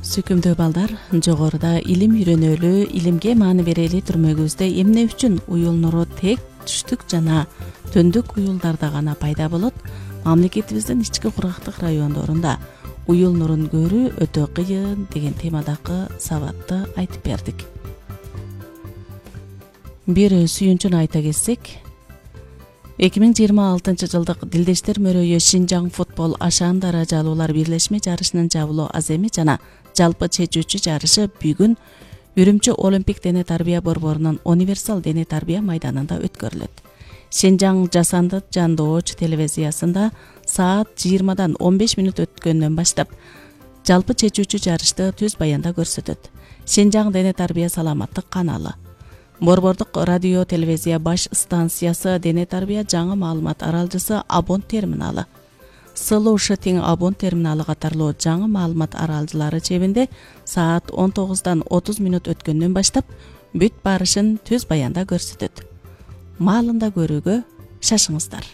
Сүйкүмдүү балдар, жогоруда илим үйрөнөлү, илимге маани берели түрмөгүбүздө эмне үчүн уюл нуру тек түштүк жана төндүк уюлдарда гана пайда болот? Мамлекетибиздин ички кургактык райондорунда уюл нурун көрүү өтө кыйын деген темадагы сабатты айтып бердик. Бир сүйүнчүн айта кетсек, 2026 жылдык Дилдештер мөрөйү Шинжаң футбол ашаан даражалуулар бирлешме жарышынын жабылуу аземи жана жалпы чечүүчү жарышы бүгүн Үрүмчү Олимпик дене тарбия борборунун универсал дене тарбия майданында өткөрүлөт. Шинжаң жасанды жандооч телевизиясында саат 20-дан 15 мүнөт өткөндөн баштап жалпы чечүүчү жарышты түз баянда көрсөтөт. Шинжаң дене тарбия саламаттык каналы, Борбордук радио телевизия баш станциясы, дене тарбия жаңы маалымат аралжысы Абон терминалы, Слушатиң Абон терминалы катарлуу жаңы маалымат аралжылары чебинде саат 19-дан 30 мүнөт өткөндөн баштап бүт барышын түз баянда көрсөтөт. Маалында көрүүгө шашыңыздар.